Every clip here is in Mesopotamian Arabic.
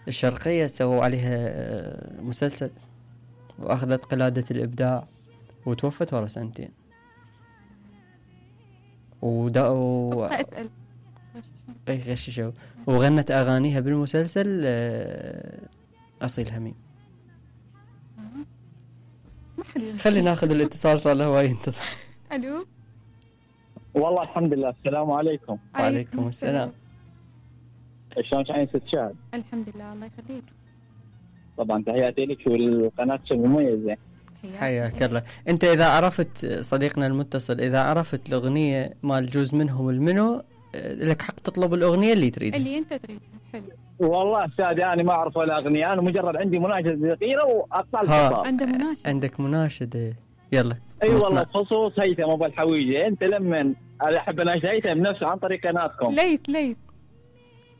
الشرقية سووا عليها مسلسل وأخذت قلادة الإبداع وتوفت ورا سنتين. اسأل اي غششوا وغنت أغانيها بالمسلسل أصيل هميم. خلينا ناخذ الاتصال، صار له هواي ينتظر. الو والله الحمد لله. السلام عليكم. وعليكم السلام. شلون كان ست شهر؟ الحمد لله الله يخليك. طبعا تحياتي لك والقناة المميزة. حياك الله. انت اذا عرفت صديقنا المتصل، اذا عرفت الاغنية مال جوز منهم المنو، لك حق تطلب الاغنية اللي تريدها اللي انت تريدها. حلو والله استاذ انا ما اعرف ولا اغنية، انا مجرد عندي مناشدة صغيرة واقطع الخطاب. عنده مناشدة. عندك مناشدة؟ يلا. اي والله بخصوص هيثم ابو الحويجة. انت لما احب اناشد هيثم نفسه عن طريق قناتكم.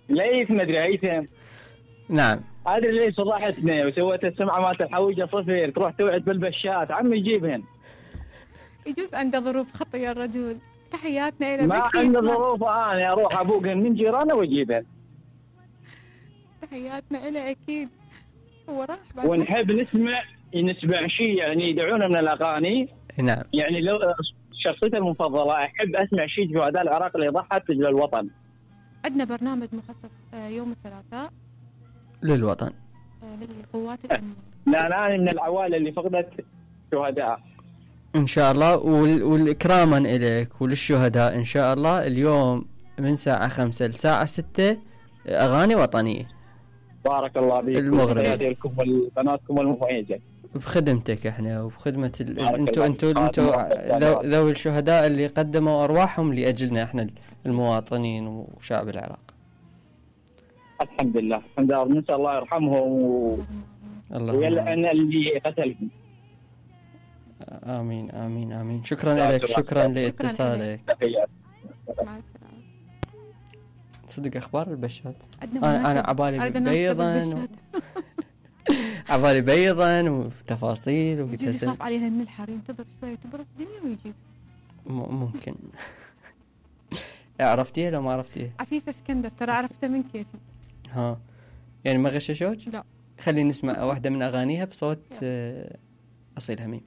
ليث مدري هيثم. نعم. ادري ليش صلحتنا وسويت السمعة مالت الحويجة صفر، تروح توعد بالبشات عمي يجيبهن. يجوز عنده ظروف خطية الرجل. تحياتنا الى ما عنده ظروف، انا اروح ابوقن من جيرانه واجيبهن. تحياتنا الى اكيد. هو راح ونحب نسمع شيء يعني يدعونا من الاغاني. نعم. يعني لو شخصيتي المفضله احب اسمع شيء شهداء العراق اللي ضحت لاجل الوطن. عندنا برنامج مخصص يوم الثلاثاء للوطن، للقوات الامنيه. لا انا من العوائل اللي فقدت شهداء ان شاء الله. والاكراما اليك وللشهداء ان شاء الله اليوم من الساعه 5 للساعه 6 اغاني وطنيه. بارك الله فيك. المغرب لكم وقناتكم المميزه بخدمتك احنا وبخدمه انتو ذوي الشهداء اللي قدموا ارواحهم لاجلنا احنا المواطنين وشعب العراق. الحمد لله الحمد لله. نسال الله يرحمهم ويلعن اللي قتلهم. امين امين امين. شكرا لك، شكرا لاتصالك. مع السلامه. صدق اخبار البشات. انا عبالي بيضا وتفاصيل وقلت يخاف عليها من الحر، ينتظر شوي تبرد الدنيا ويجيب. ممكن. عرفتيها لو ما عرفتيها؟ عفيفة اسكندر ترى عرفتها من كيفي. يعني ما غششوك؟ لا. خلينا نسمع واحدة من أغانيها بصوت أصيل هميم.